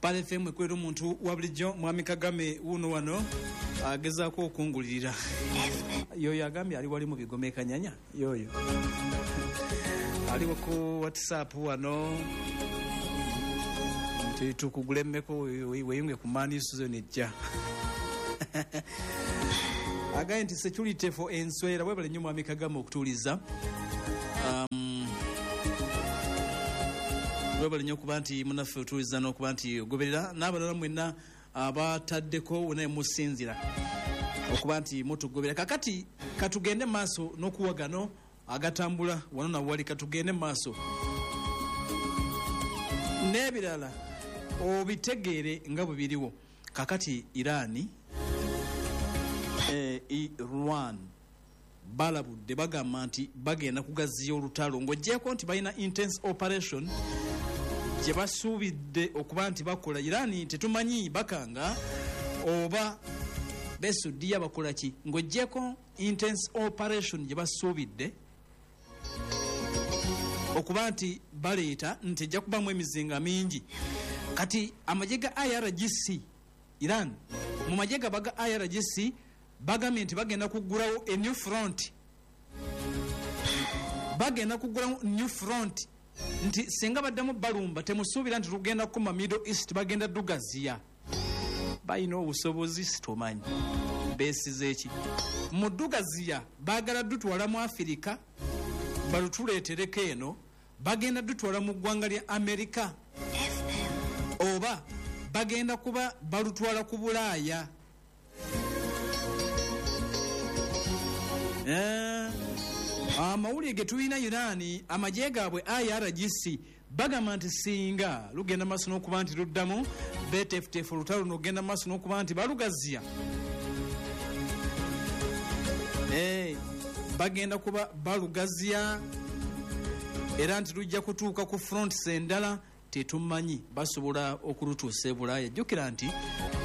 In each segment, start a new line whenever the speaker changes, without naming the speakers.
Pearl FM ekwera omuntu wa bulijjo. Mwami Kagame wuno wano agezaako okungulirira. Yoyo agambye ali wali mu bigoma e Kanyanya, yoyo aliwo ku WhatsApp wano nti tukugulemmeko weyunge ku mani season ejja. Agambye nti security for enswera. Webale nnyo Mwami Kagame okutuuliza. Webale nnyo okuba nti munaffe otuuliza n'okuba nti ogoberera, n'abalala mwenna abataddeko wonna musinzira okuba nti mutugobera. Kakati katugende maaso n'okuwa gano agatambula wano nawali, katugende maaso n'ebirala obitegeere nga bwe biriwo. Kakati Iran, Iran balabudde, bagamba nti bagenda kugaziya olutalo, ng'oggyeko nti balina intense operation gye basuubidde okuba nti bakola. Iran tetumanyi bakanga oba besudiya bakola ki, ng'oggyeko intense operation gye basuubidde okuba nti baleeta nti ejja kubamu emizinga mingi. Kati amagye ga IRGC, Iran mu magye gaba ga IRGC bagambye nti bagenda kuggulawo a new front, bagenda kuggulawo new front, nti singa baddamu balumba temusuubira nti tugenda kukoma Middle East, bagenda dugaziya. Balina obusobozi, sitomanyi beesize ki mu dugaziya. Baagala dutwala mu Afirika balutuleetereko eno, bagenda dutwala mu ggwanga lya Amerika oba bagenda kuba balutwala ku Bulaaya. Amawulire ge tulina, Iran amagye gaabwe IRGC bagamba nti singa lugenda maaso n'okuba nti luddamu beteefuteefu olutalo luno okugenda maaso n'okuba nti balugaziya, bagenda kuba balugaziya era nti lujja kutuuka ku fronts endala. Tetumanyi basobola okulutuusa e Bulaaya. Jjukira nti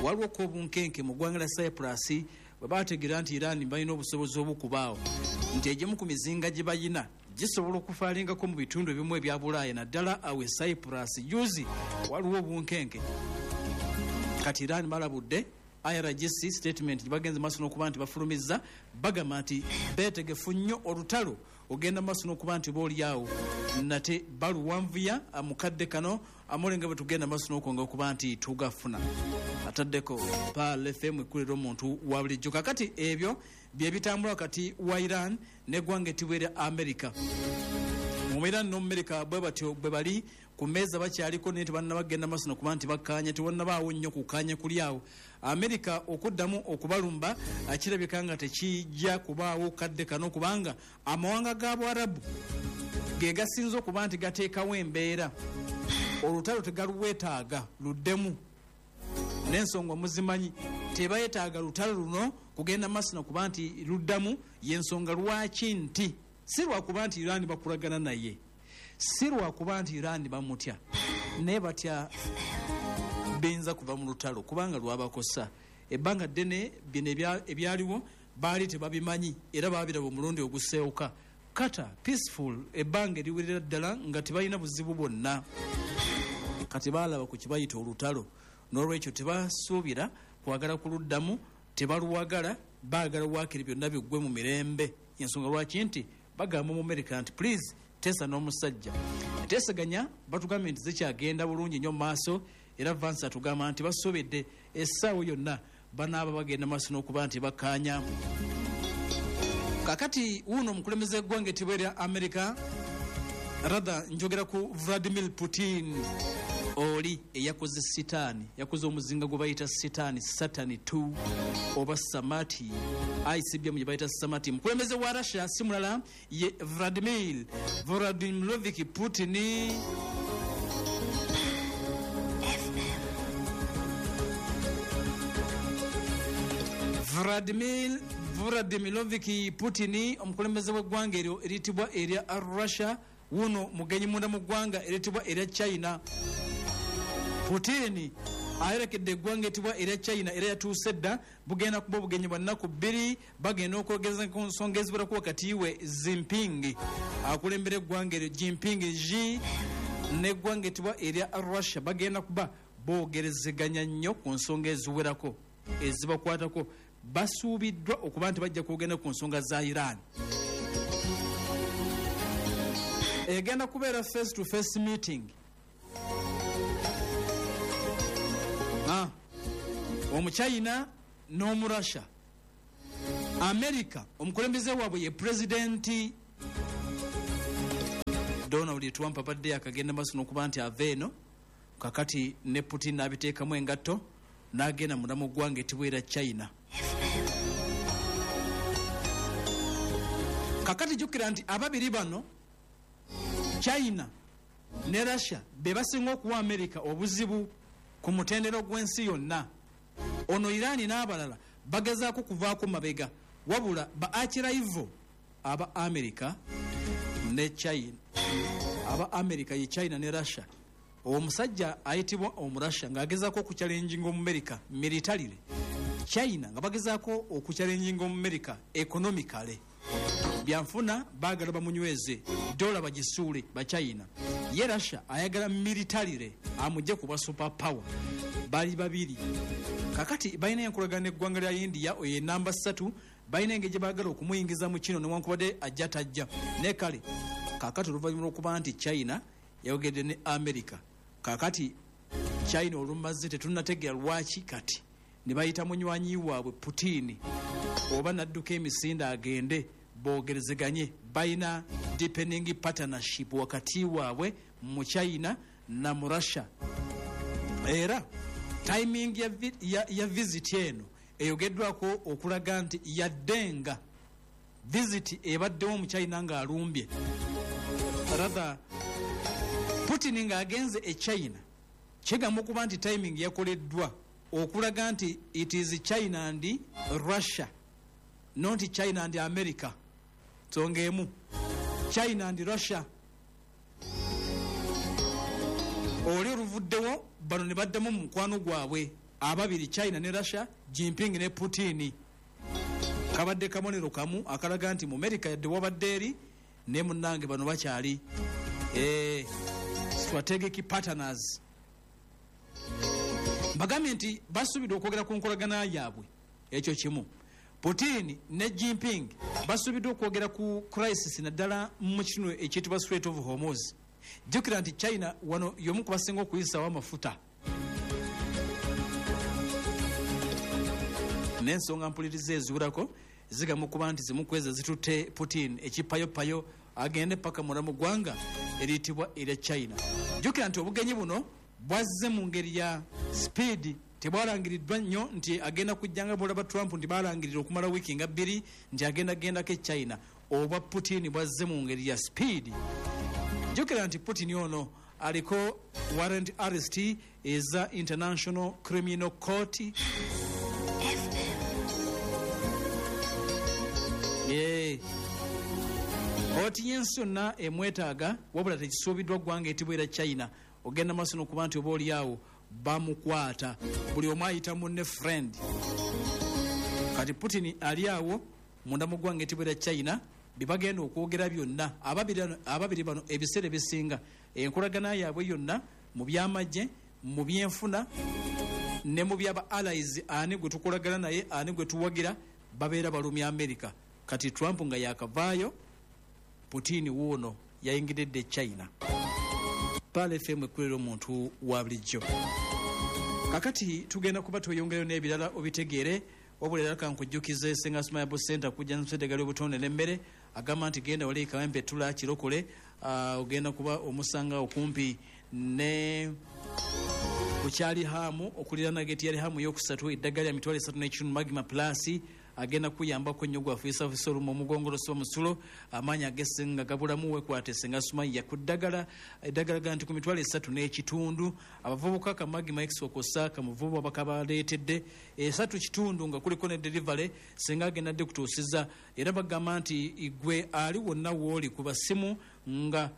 waliwo ko obunkenke mu ggwanga lya Cyprus bwe bategeera nti Iran balina obusobozi obukubaawo, nti egimu ku mizinga gye bayina gisobola okufaalingako mu bitundu ebimu ebya Bulaaya, naddala awo e Cyprus. Juzi waliwo obunkenke. Kati Iran balabudde, IRGC statement gye bagenze maaso n'okuba nti bafulumizza, bagamba nti beetegefu nnyo olutalo ogenda maaso n'okuba nti booliawo nate baluwanvuya mukadde kano amulenga bwe tugenda maaso n'okwonga okuba nti tugafuna. Ataddeko Pearl FM ekulira omuntu wa bulijjo. Kakati ebyo bye bitambula wakati wa Iran n'eggwanga ettibwa erya America. Mu Iran n'Omumerika bwe batyo bwe bali ku mmeeza bakyaliko, naye tebannaba kugenda maaso nokuba nti bakkaanya, tewannabaawo nnyo kukkaanya kuli awo. Amerika okuddamu okubalumba kirabika nga tekijja kubaawo kadde kano, kubanga amawanga ga Bwarabu ge gasinze okuba nti gateekawo embeera. Olutalo tegalwetaaga luddemu n'ensonga muzimanyi, tebayetaaga lutalo luno kugenda maaso nakuba nti luddamu. Yensonga lwaki nti si lwakuba nti Iran bakulagana naye, si lwakuba nti Iran bamutya, naye batya biyinza kuva mu lutalo, kubanga lwabakosa ebbanga ddene. Bino ebyaliwo baali tebabimanyi era babiraba omulundi oguseewuka. Kata peaceful ebbanga eriwerera ddala nga tebalina buzibu bwonna, kati baalaba ku kibayita olutalo. N'olwekyo tebasuubira kwagala kuluddamu, tebaluwagala, baagala waakiri byonna biggwe mu mirembe. Ensonga lwaki nti bagamba mu Amerika nti please teesa n'omusajja. Enteeseganya batugambye nti zikyagenda bulungi nnyo mu maaso, era Vance atugamba nti basuubidde essaawa yonna banaaba bagenda maaso n'okuba nti bakkaanya. Kakati wuuno omukulembeze w'eggwanga ettibwa erya Amerika, rather njogera ku Vladimir Putin, oli eyakoze sitaani, yakoze omuzinga gwe bayita sitaani, Satani 2 oba Samati, ICBM gye bayita Samati. Mukulembeze wa Russia si mulala ye Vladimir Vladimirovich Putin. Vladimir Vladimirovich Putin, omukulembeze w'eggwanga eryo eriyitibwa erya Russia, wuno mugenyi munda mu ggwanga eriyitibwa erya China. Putin ayolekedde eggwanga etibwa erya China era yatuuse dda. Bugenda kuba obugenyi bwa nnaku 2, bagenda okwogeza ku nsonga eziwerako wakati we Jinping, akulembera eggwanga eryo, Jinping Xi, n'eggwanga etibwa erya Russia. Bagenda kuba Boogerezeganya nnyo ku nsonga eziwerako ezibakwatako. Basuubiddwa okuba nti bajja kwogenda ku nsonga za Iran. Egenda kubeera face to face meeting. Omuchina n'Omurussia. America, omukulembeze waabwe ye Pulezidenti Donald Trump, abadde akagenda maaso n'okuba nti ava eno. Kakati ne Putin n'abiteekamu engatto n'agenda munda mu ggwanga etibwera China. Kakati jjukira nti ababiri bano, China ne Russia, be basinga okuwa America obuzibu ku mutendero gw'ensi yonna. Ono Irani n'abalala bagezaako kuvaako mabega, wabula ba arch-rival aba America ne China, aba America ye China ne Russia. Omusajja ayitibwa Omurussia ng'agezaako okuchallenginga Omumerika militarily, China nga bagezaako okuchallenginga Omumerika economically, byanfuna baagala bamunyweze, dola bagisuule Bachina. Ye Russia ayagala militarily amugye kuba super power. Bali babiri. Kakati balina enkolagana n'eggwanga lya India, oyo enamba 3. Balina engeri gye baagala okumuyingiza mu kino, newankubadde ajja tajja. Ne kale kakati oluvannyuma lw'okuba nti China yayogedde ne America, kakati China olumaze, tetunnategeera lwaki, kati ne bayita munywanyi waabwe Putin oba nadduka emisinde agende boogerezeganye. Balina deepening partnership wakati waabwe mu China na mu Russia. Era timing ya visit eno eyogeddwako okulaga nti yaddenga visit ebaddewo mu China ng'alumbye, rather Putin ng'agenze e China, kigamba okuba nti timing yakoleddwa okulaga nti it is China and Russia, not China and America. Nsonga emu, China and Russia. Oli oluvuddewo, bano ne baddamu mu mukwano gwabwe ababiri, China ne Russia, Jinping ne Putin. Kabadde kabonero kamu akalaga nti mu America yadde wabadde eri, ne munnange bano bakyali strategic partners. Mbagambye nti basuubidde okwogera ku nkolagana yaabwe. Ekyo kimu. Putin ne Jinping basuubiddwa okwogera ku crisis, naddala mu kino ekiyitibwa Strait of Hormuz. Jjukira nti China wano y'omu ku basinga okuyisawo amafuta. N'ensonga mpuliriza eziwerako zigamba okuba nti zimu ku ezo zitutte Putin ekipayopayo agende paka munda mu ggwanga eriyitibwa erya China. Jjukira nti obugenyi buno bwazze mu ngeri ya speed, tebwalangiriddwa nnyo nti agenda kujja nga bwolaba Trump nti balangirira okumala wiiki nga 2 nti agenda gendako e China. Obwa Putin bwazze mu ngeri ya speed. Jjukira nti Putin ono aliko warrant arrest eza International Criminal Court. Yeah. Kooti y'ensi yonna emwetaaga, wabula tekisuubiddwa ggwanga etibwera China ogenda maaso n'okuba nti oba oli awo bamukwata. Buli omu ayita munne friend. Kati Putin ali awo munda mu ggwanga etibwera China. Bye bagenda okwogera byonna ababiri bano, ebiseera ebisinga enkolagana yaabwe yonna mu byamagye, mu byenfuna ne mu byaba allies, ani gwe tukolagana naye, ani gwe tuwagira, babeera balumya America. Kati Trump nga yakavaayo, Putin wuuno yayingidde China. Pearl FM, ekulera omuntu wa bulijjo. Kakati tugenda kuba tweyongerayo n'ebirala obitegeere, wabula era kankujjukize Senga Smile Center kujja nseddagala obutonde n'emmere. Agamba nti genda wali Kawempe Tula Kirokole, ogenda kuba omusanga okumpi ne kukyali hamu okuliraana geti yali hamu yokusatu. Eddagala lya 35,000, Magma Plus, agenda kuyambako nnyo gwafuisafisa olumu omugongo, losiba musulo, amaanyi agesenga gabulamu. Wekwate Senga Sumaiya ku ddagala. Eddagala ga nti ku 35,000. Abavubuka, ka Magma X okosa kamuvubu bakabaleetedde 3.5 nga kuliko ne delivery. Senga agenda dde kutuusiza. Era bagamba nti gwe ali wonna wooli, kuba simu nga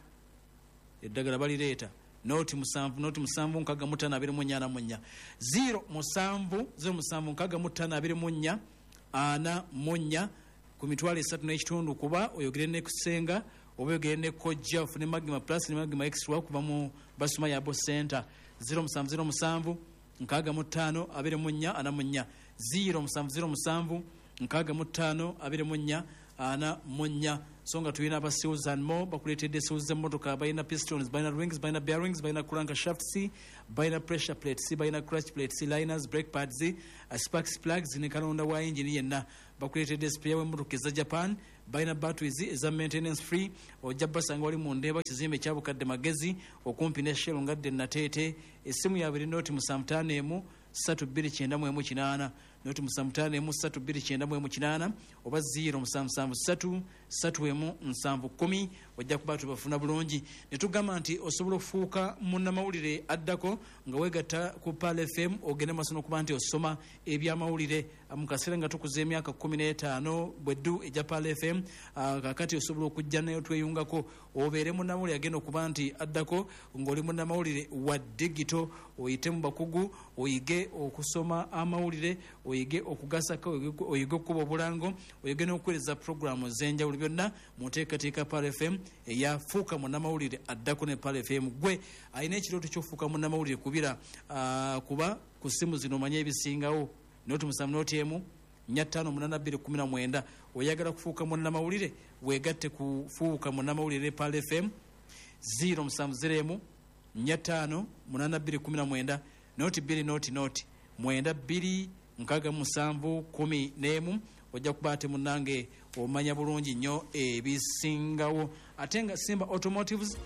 eddagala balireeta, 0 7 0 7 65 24 44, 0 7 0 7 65 24 44, ku 35,000. Kuba oyogere ne Kusenga oba oyogere ne Kojja, ofune Magma Plus ne Magma X kuva mu Basuma Yabo Center. 0707 65 24 44, 0707 65 24 44. So nga tulina aba Seals and More, bakuleetedde seals z'emmotoka. Balina pistons, balina rings, balina bearings, balina crank shafts, balina pressure plates, balina clutch plates, liners, brake pads, sparks plugs ne kalonda wa engine yenna. Bakuleetedde spare w'emmotoka eza Japan, balina batteries eza maintenance free. Ojja basanga wali mu Ndeeba, kizimbe kya Bukadde Magezi, okumpi ne Shell ngadde Nateete. Essimu yaabwe eri 075 329 18, 075 329 18 oba 0773 31 7 10. Ojja kuba tubafuna bulungi. Ne tugamba nti osobola okufuuka munnamawulire addako nga weegatta ku Pearl FM, ogende maaso n'okuba nti osoma ebyamawulire mu kaseera nga tukuza emyaka 15 bweddu ejja Pearl FM. Kakati osobola okujja nayo tweyungako, obeere munnamawulire agenda okuba nti addako ng'oli munnamawulire wa digital. Oyite mu bakugu, oyige okusoma amawulire, oyige okugasako, oyige okukuba obulango, oyige n'okuweereza puroguramu ez'enjawulo, byonna mu nteekateeka Pearl FM eyafuuka munnamawulire addako ne Pearl FM. Gwe alina ekirooto ky'okufuuka munnamawulire, kubira kuba ku ssimu zino omanye ebisingawo: 0 7 0 1 4 5 8 2 19. Oyagala kufuuka munnamawulire, weegatte kufuuka munnamawulire Pearl FM: 0 7 0 1 4 5 8 2 19, 0 2 0 0 9 2 67 11. Ojja kuba ate munnange omanya bulungi nnyo ebisingawo. Ate nga Simba Automotives,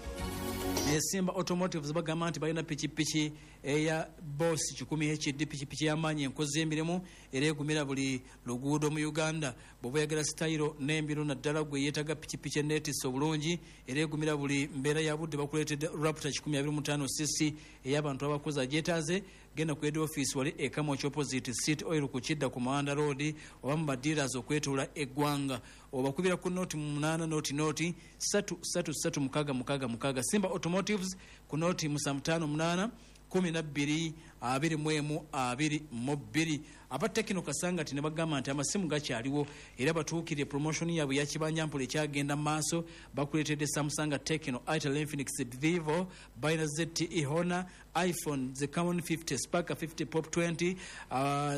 Simba Automotives bagamba nti balina pikipiki eya Boss 100 HD, pikipiki y'amaanyi, enkozi y'emirimu era egumira buli luguudo mu Uganda. Bw'oba oyagala sitayiro n'embiro, naddala gwe yeetaga pikipiki eneetisse obulungi era egumira buli mbeera ya budde, bakuleetedde Raptor 125 cc ey'abantu abakozi agyetaaze. Genda ku head office wali e Kamwokya, opposite City Oil ku Kidda ku Mawanda Road, oba mu ba dealers okwetoola eggwanga. Obakubira ku 08 0 3 3 3 6 6 6. Simba Automotives ku 0 758 12 21 22. Aba Tecno Kasangati ne bagamba nti amasimu gakyaliwo era batuukirire. Promotion yaabwe yakibanja mpola ekyagenda mu maaso. Bakuleetedde Samsung, Tecno, Itel, Infinix, Vivo, balina ZTE, Honor, iPhone, the Camon 50, Spark 50 Pop 20,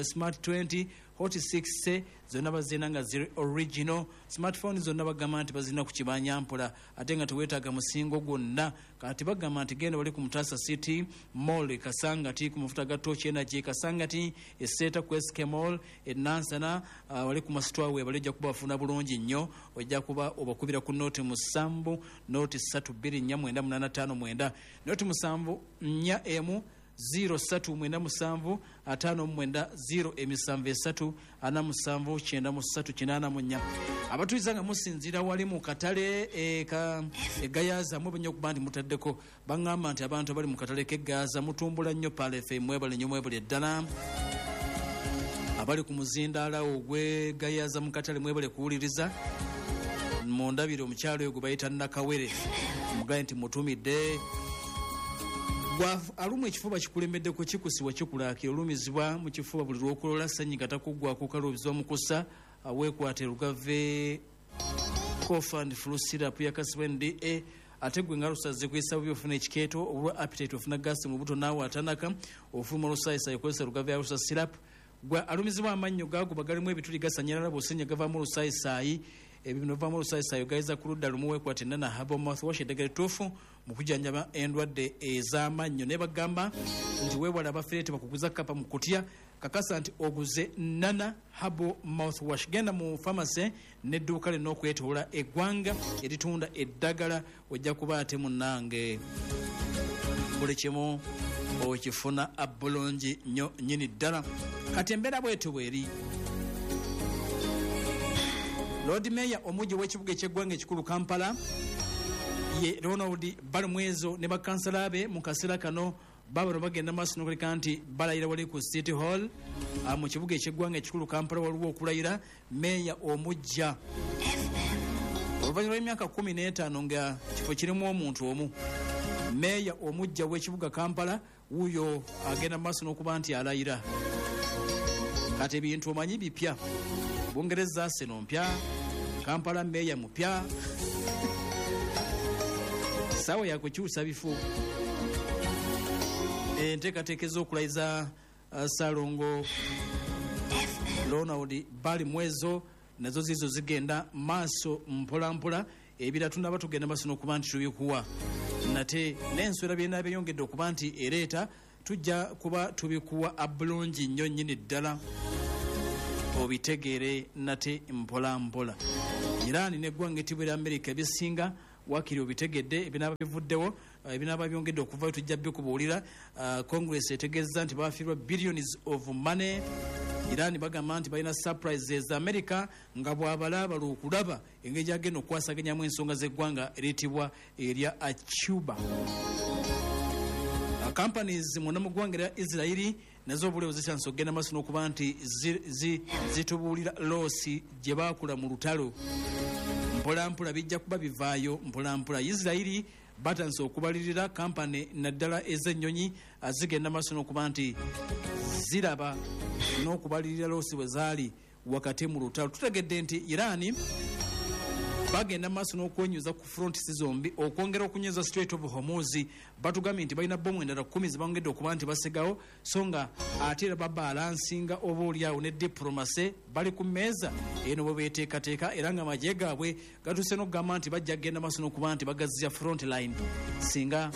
Smart 20, Hot 6, zonna bazirina nga ziri original. Smartphone zonna bagamba nti bazirina ku kibanja mpola ate nga teweetaaga musingo gwonna. Kati bagamba nti genda bali ku Mutasa City Mall Kasangati, ku mafuta ga Torch Energy Kasangati, eseeta ku SK Mall enansana, wali ku masitwawe bali. Ojja kuba bafuna bulungi nnyo. Ojja kuba obakubira ku 0 7 0 3 2 4 9 8 5 9, 0 7 4 1 0 3 9 7 5 9 0 7 3 47 93 84. Abatuliza nga musinziira wali mu katale egayaza, mwe okuba nti mutaddeko, baŋŋamba nti abantu abali mu katale k'egayaza mutumbula nnyo Pearl FM. Mwebale nnyo, mwebale ddala. Abali ku muzindaala ogw'egayaza mu katale, mwebale kuwuliriza. Mundabire omukyalo oyo gwe bayita Nakawere, mugaye nti mutumidde. Alumwa ekifuba kikulemeddeko, kikusibwa, kikulaakira, olumizibwa mu kifuba buli lwokolola, senyiga takuggwako, kaluubizibwa mu kussa, weekwate Lugave Cough and Flu Syrup yakasibwa NDA. Ate gwe nga lusaze kuyisa bubi, ofuna ekikeeto, obulwa appetite, ofuna gasi mu buto, naawe atanaka, ofuluma olusayisayi, okozesa Lugave Ulcer Syrup. Gwe alumizibwa amannyo gaguba, galimu ebituli, gasanyalala, bw'osenya gavaamu olusayisaayi, ebyo bivaamu olusayisaayi gayiza ku ludda lumu, weekwate Nana Herbal Mouthwash, eddagala ettuufu mu kujjanjaba endwadde ez'amannyo. Naye bagamba nti weewale abafereete bakuguza kapa mu kutya. Kakasa nti oguze Nana Herbal Mouthwash. Genda mu famasi n'edduuka lina okwetoola eggwanga eritunda eddagala, ojja kuba ate munnange buli kimu okifuna bulungi nnyo nnyini ddala. Kati embeera bwetyo bweri. Lord Mayor omujji w'ekibuga ekyeggwanga ekikulu Kampala ye Ronald Balimwezo ne bakansala be mu kaseera kano babano bagenda maaso nokuleka nti balayira wali ku City Hall mu kibuga ekyeggwanga ekikulu Kampala. Waliwo okulayira meeya omujja oluvannyuma lw'emyaka 15 nga kifo kirimu omuntu omu. Meeya omujja w'ekibuga Kampala wuuyo agenda maaso n'okuba nti alayira. Kati ebintu omanyi bipya, Bungereza seno mpya, Kampala meeya mupya, saawa yakukyusa bifo. Enteekateeka ez'okulayiza Ssalongo Ronald Balimwezo nazo zizo zigenda maaso mpolampola. Ebira tunaba tugenda maaso n'okuba nti tubikuwa nate n'enswera byena byeyongedde okuba nti ereeta tujja kuba tubikuwa abulungi nnyo nnyini ddala obitegeere nate mpolampola. Iran n'eggwanga ettibwa erya Amerika ebisinga wakiri obitegedde, ebinaaba bivuddewo, ebinaaba byongedde okuvayo tujja bikubuulira. Congress etegeeza nti bafiirwa billions of money. Iran bagamba nti balina surprises. America nga bw'abalaaba lwokulaba engeri gyagenda okukwasaganyamu ensonga z'eggwanga eriyitibwa erya Cuba. Companies mwonna mu ggwanga erya Israeli nazo obulewo zitandise okugenda maaso n'okuba nti zitubuulira loss gye baakula mu lutalo. Mpolampola bijja kuba bivaayo mpolampola. Israeli batandise okubalirira kampani naddala ez'ennyonyi zigenda maaso n'okuba nti ziraba n'okubalirira loosi bwe zaali wakati mu lutalo. Tutegedde nti Iran bagenda maaso n'okwenyuza ku fronts zombi okwongera okunyweza Strait of Hormuz. Batugambye nti balina bomu endala 10 zebongedde okuba nti basigawo, so nga ate era babalansinga oba oliawo ne diplomacy bali ku mmeeza eno bwe beeteekateeka, era nga amagye gaabwe gatuuse n'okugamba nti bajja kugenda maaso n'okuba nti bagaziya front line singa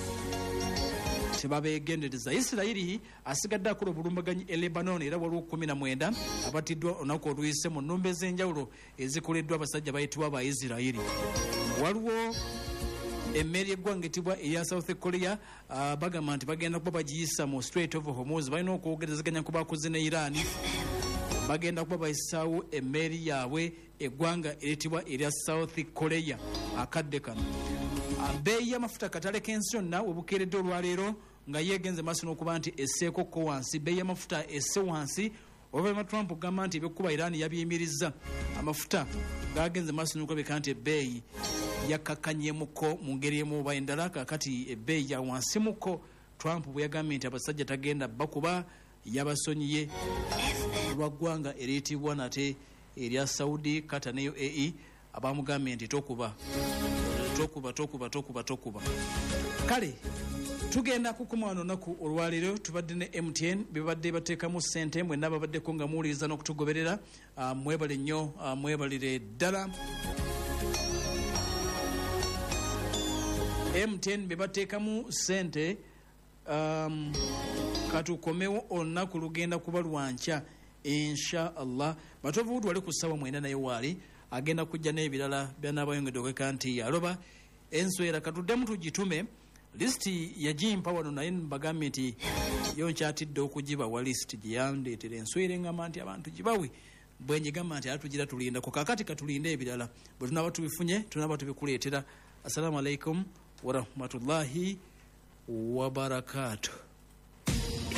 tebabeegendereza. Isirayiri asigadde akola obulumbaganyi e Lebanon, era waliwo 19 abatiddwa olunaku oluyise mu nnumba ez'enjawulo ezikoleddwa abasajja bayitibwa aba Isirayiri. Waliwo emmeri y'eggwanga etibwa eya South Korea, bagamba nti bagenda kuba bagiyisa mu Strait of Hormuz. Balina okwogerezeganya ku bakoze ne Iran, bagenda kuba bayisaawo emmeri yaabwe eggwanga eritibwa erya South Korea akadde kano. Bbeeyi y'amafuta katale k'ensi yonna we bukeeredde olwaleero nga yeegenze maaso n'okuba nti esseeko ko wansi. Bbeeyi y'amafuta esse wansi oluvannyuma Trump okugamba nti ebyokukuba Iran yabiyimirizza. Amafuta gagenze maaso n'okulabika nti ebbeeyi yakkakkanyemuko mu ngeri emu oba endala. Kaakati ebbeeyi ya wansimuko Trump bwe yagambye nti abasajja tagenda bakuba yabasonyiye lwa ggwanga eriyitibwa nate erya Saudi, Qatar ne UAE abamugambye nti tokuba tokuba tokuba tokuba tokuba. Kale tugenda kukoma wano olunaku olwaleero. Tubadde ne MTN bebadde bateekamu ssente, mwenna babaddeko nga muwuliriza n'okutugoberera. Mwebale nnyo, mwebalire ddala. MTN bebateekamu ssente. Katukomewo olunaku lugenda kuba lwankya insha Allah. Batovu wali ku ssaawa 9 naye waali agenda kujja n'ebirala by'anaabayongedde okweka nti yaloba enswera. Katuddemu tugitume lisiti yagimpa wano, naye mbagambye nti yo nkyatidde okugibawa lisiti gye yandeetera enswera engamba nti abantu gibawe bwe njigamba nti ate tugira tulindako. Kaakati katulinde ebirala bwe tunaaba tubifunye tunaaba tubikuleetera. Assalamu alaikum warahmatullahi wabarakatuh.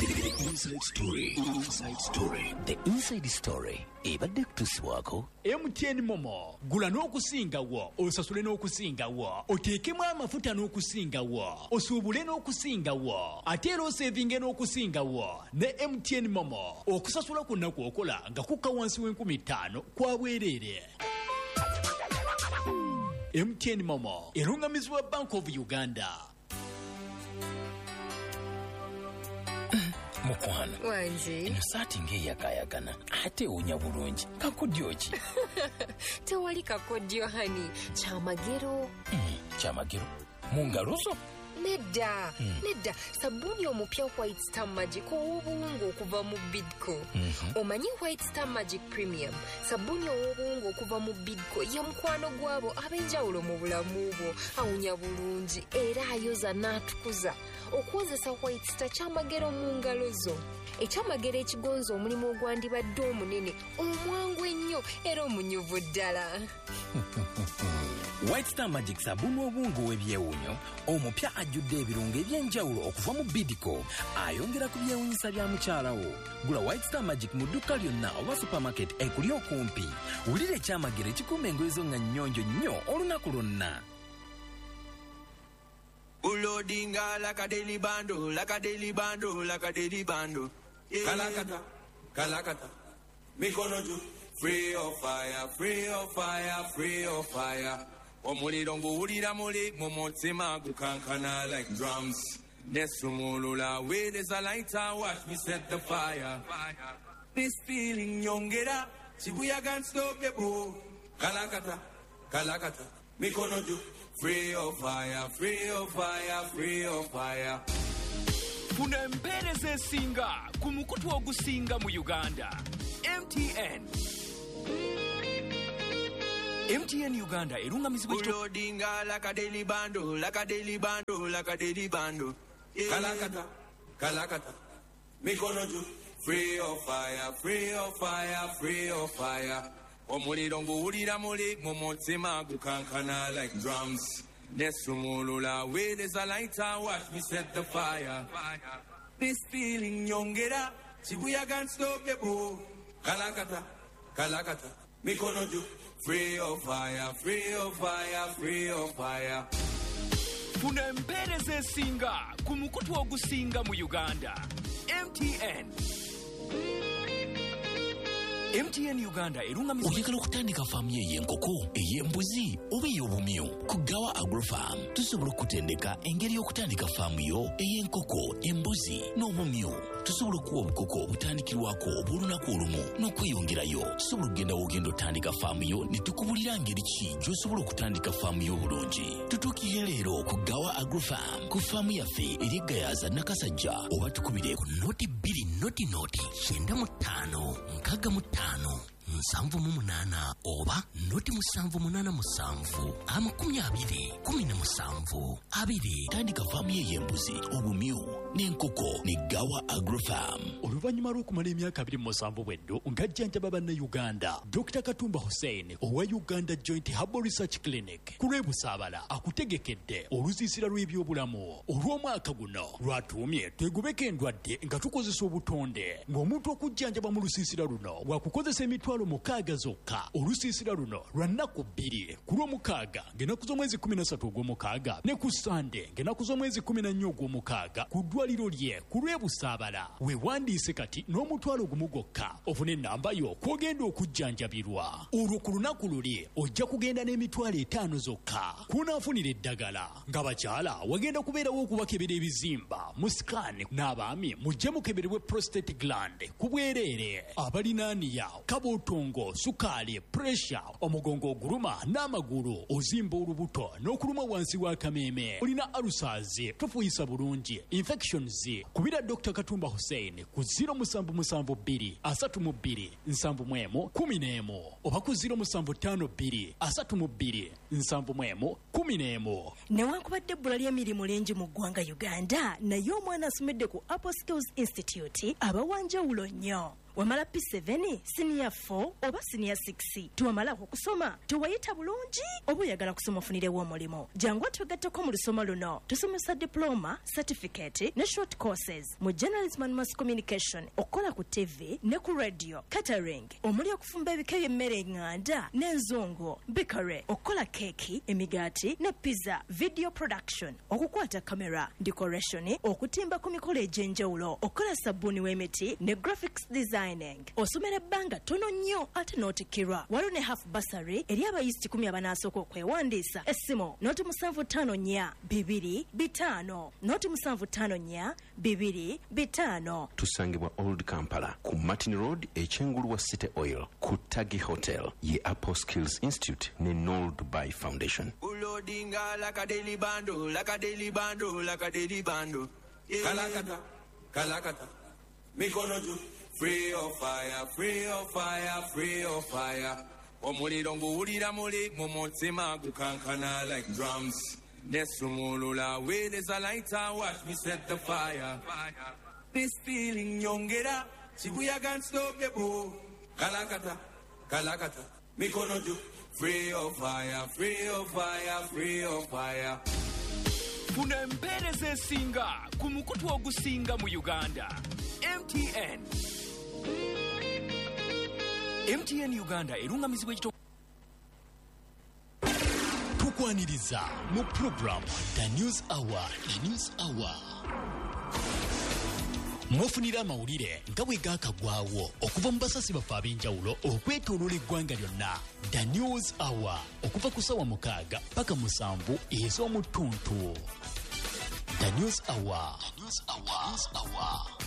The Inside Story. Inside Story.
The Inside Story ebadde kutuusibwako
MTN Momo. Gula n'okusingawo, osasule n'okusingawo, oteekemu amafuta n'okusingawo, osuubule n'okusingawo, ate era osevinge n'okusingawo ne MTN Momo. Okusasula kwonna kw'okola nga kukka wansi w'enkumi ttaano kwa bwereere. MTN Momo erungamizibwa Bank of Uganda.
Mukwano.
Wangi.
Eno saati ng'eyagaayagana ate ewunya bulungi, kakodyo ki?
Tewali kakodyo honey, kyamagero.
Kyamagero mu ngalo zo?
Nedda, nedda, sabbuuni omupya White Star Magic ow'obuwunga okuva mu Bidco. Omanyi White Star Magic Premium sabbuuni ow'obuwunga okuva mu Bidco ye mukwano gwabo ab'enjawulo mu bulamu bwo. Awunya bulungi era ayoza n'atukuza. Okwozesa White Star kyamagero mu ngalo zo, ekyamagero ekigonza omulimu ogwandibadde omunene, omwangu ennyo era omunyuvu ddala.
White Star Magic sabbuuni obuwunga ow'ebyewuunyo omupya ajjudde ebirungo eby'enjawulo okuva mu Bidco ayongera ku byewuunyisa bya mukyala wo. Gula White Star Magic mu dduuka lyonna oba supermarket ekuli okumpi. Wulira ekyamagero ekikuuma engoye zo nga nnyonjo nnyo olunaku lwonna.
Ulodinga like a daily bando, like a daily bando, like a daily bando. Yeah. Kalakata, kalakata, mikono juu. Free of fire, free of fire, free of fire. Omuliro nguwulira muli mu mutima gukankana like drums. Nesumulula weereza lighter, watch me set the fire. This feeling nyongera, kibuyaga unstoppable. Kalakata, kalakata, mikono juu. Free your fire, free your fire, free your fire.
Funa empeereza esinga ku mukutu ogusinga mu Uganda. MTN. MTN Uganda erungamizibwa ekito
Loadinga like a daily bundle, like a daily bundle, like a daily bundle. Kalakata, kalakata, mikono juu. Free your fire, free your fire, free your fire. Omuliro nguwulira muli mu mutima gukankana like drums. Nesumulula weereza lighter, watch me set the fire. This feeling nyongera, kibuyaga unstoppable. Kalakata, kalakata, mikono juu. Free your fire, free your fire, free your fire.
Funa empeereza esinga ku mukutu ogusinga mu Uganda. MTN. MTN Uganda erungamizibwa
Oyagala okutandika faamu yo ey'enkoko, ey'embuzi oba ey'obumyu? Ku Gawa Agrofarm tusobola okutendeka engeri y'okutandika faamu yo ey'enkoko, embuzi n'obumyu. Tusobola okuwa obukoko obutandikirwako obw'olunaku olumu n'okweyongerayo. Tusobola okugenda w'ogenda otandika faamu yo ne tukubulira ngeri ki gy'osobola okutandika faamu yo obulungi. Tutuukire leero ku Gawa Agrofarm ku faamu yaffe eri e Gayaza Nakasajja, oba tukubire ku 0 2 0 0 95 65 78 oba 0 787 20 17 2. Tandika faamu ye ey'embuzi, obumyu n'enkoko ne Gawa Agrofarm.
Oluvannyuma lw'okumala emyaka 27 bweddo ng'ajjanjaba Bannayuganda, Dr Katumba Hussein owa Uganda Joint Herbal Research Clinic ku lw'ebusaabala akutegekedde olusiisira lw'ebyobulamu olw'omwaka guno lwatuumye "Twegobeko endwadde nga tukozesa obutonde", ng'omuntu okujjanjaba mu lusiisira luno wakukozesa 60,000 zokka. Olusiisira luno lwa nnaku 2, ku Lwomukaaga ng'ennaku z'omwezi 13 ogw'omukaaga ne ku Sande ng'ennaku z'omwezi 14 ogw'omukaaga ku ddwaliro lye ku lw'ebusaabala. Weewandiise kati n'1,000 gwokka ofune ennamba yo kw'ogenda okujjanjabirwa. Olwo ku lunaku luli ojja kugenda n'50,000 zokka kw'onaafunira eddagala. Ng'abakyala wagenda kubeerawo okubakebera ebizimba mu scan, n'abaami mujje mukeberebwe prostate gland ku bwereere. Abalina hernia, kabuutongo, sukaali, pressure, omugongo oguluma n'amagulu, ozimba olubuto n'okuluma wansi w'akameeme, olina ulcers, tofuuyisa bulungi, infections, kubira Dr Katumba Hussein ku 0772 32 71 11 oba ku 0752 32 71 11.
Newankubadde ebbula ly'emirimu lingi mu ggwanga Uganda, naye omwana asomedde ku Apple Skills Institute aba wanjawulo nnyo. Wamala P7, siniya 4 oba siniya 6, tewamalako kusoma, tewayita bulungi, oba oyagala kusoma ofunirewo omulimu, jangu otwegatteko mu lusoma luno. Tusomesa diploma, certificate ne short courses mu journalism and mass communication, okukola ku TV ne ku radio, catering omuli okufumba ebika by'emmere eŋŋanda n'enzungu, bakery, okukola keeki, emigaati ne pizza, video production, okukwata kamera, decoration, okutimba ku mikolo egy'enjawulo, okukola sabbuuni w'emiti ne graphics designing. Osomera ebbanga ttono nnyo ate n'otikkirwa. Waliwo ne half bursary eri abayizi 100 abanaasooka okwewandiisa. Essimu 0754 2 5 0754 2 5.
Tusangibwa Old Kampala ku Martin Road, ekyengulu wa City Oil ku Tagi Hotel, ye Apple Skills Institute ne Nol Dubai Foundation.
Loadinga like a daily bundle, like a daily bundle, like a daily bundle. Kalakata, kalakata, mikono juu. Free your fire, free your fire, free your fire. Omuliro nguwulira muli mu mutima gukankana like drums. Nesumulula weereza lighter, watch me set the fire. This feeling nyongera, kibuyaga unstoppable. Kalakata, kalakata, mikono juu. Free your fire, free your fire, free your fire.
Funa empeereza esinga ku mukutu ogusinga mu Uganda. MTN. MTN Uganda erungamizibwa ekito. Tukwaniriza mu program The News Hour. The News Hour mwofunira amawulire nga bwe gaakagwawo okuva mu basasi baffe ab'enjawulo okwetooloola eggwanga lyonna. The News Hour okuva ku ssaawa 6 paka 7 ez'omuttuntu. The News Hour. The News Hour. News Hour.